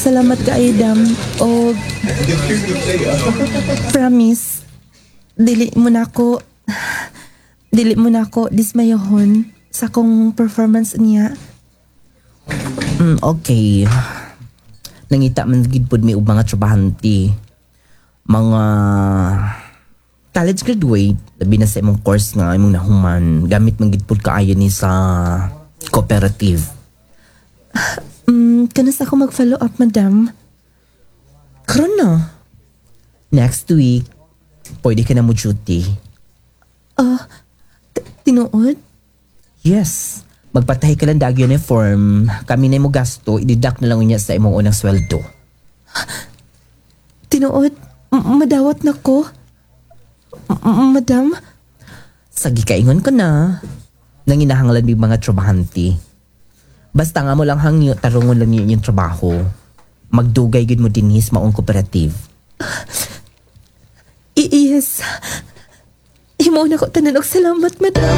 Salamat kaayo, dam. O promise, dili mo na ako dismayahon sa akong performance niya. Okay. Nangita man gid pud mi og mga trabahante. Mga college graduate, labi na sa imong course nga imong nahuman, gamit man gid pud kaayo ni sa cooperative. Kanus-a ako mag-follow up, madam? Karon na. Next week, pwede ka na mo duty. Tinuod? Yes. Magpatahi ka lang dag uniform. Kami na mo gasto, i-deduct na lang niya sa imong unang sweldo. Tinuod? Madawat na ko? Madam? Sa gikaingon ko na, nanginahanglan mig mga trabahante. Basta nga mo lang hangyo, tarungon lang yun yung trabaho. Magdugay gid mo dinhi sa maong cooperative. Yes. Himuon ako tanan og salamat, madam.